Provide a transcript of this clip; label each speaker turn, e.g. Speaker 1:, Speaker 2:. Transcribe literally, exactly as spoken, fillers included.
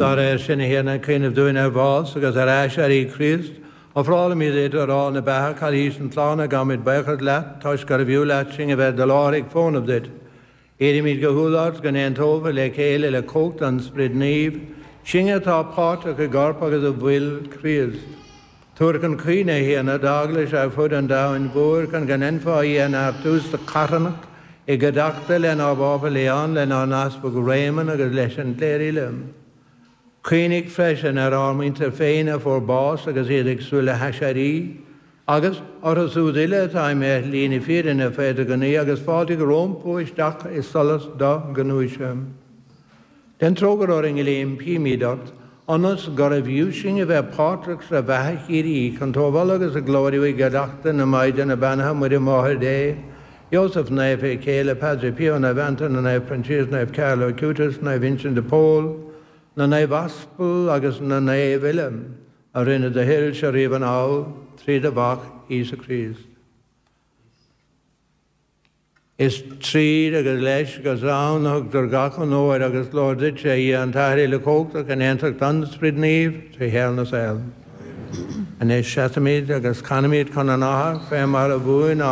Speaker 1: Dá réir sin, a Thiarna, ag cuimhneamh dúinn ar bhás agus ar aiséirí Chríost, ofrálaimid duit arán na beatha, cailís na sláine, gabhaimid buíochas leat, toisc gurbh fhiú leat sinn a bheith i do láthair ag fónamh duit. Iarraimid go humhal ort go n-aontófá le chéile le cumhacht an Sprid Naoimh, sinn atá páirteach i gcorp agus i bhfuil Chríost. Tabhair chun cuimhne, a Thiarna, d'Eaglais ar fud an domhain mhóir chun go ndéanfá í a neartú sa charthanacht i gcuideachta lenár bPápa Leon, lenár nEaspag Réamonn agus leis an gcléir uile. Cuimhnigh freisin ar ár muintir féin a fuair bás agus iad ag súil le haiséirí, agus orthu siúd uile atá imithe ar shlí na fírinne fé do ghnaoi agus fáiltigh rompu isteach i solas do ghnúise. Déan trócaire orainn uile, impímid ort, ionas gurbh fhiú sinn a bheith páirteach sa bheatha shíoraí chun tú a mholadh agus a ghlóiriú i gcuideachta na Maighdeana Beannaithe Muire Máthair Dé, Iósaf Naofa, a céile, Padre Pio, Naomh Antaine, Naomh Proinsias, Naomh Carlo Acutis, Naomh Uinseann de Pól, na Naoimh Aspal agus na Naoimh uile a rinne do thoilse riamh anall trí do Mhac Íosa Críost. Is tríd agus leis agus ann a thugtar gach onóir agus glóir duitse, a Dhia an tAthair Uilechumhachtach, in aontacht an Sprid Naoimh, trí shaol na saol. Anois seasaimid agus canaimid chun an Athar fé mar a mhúin ár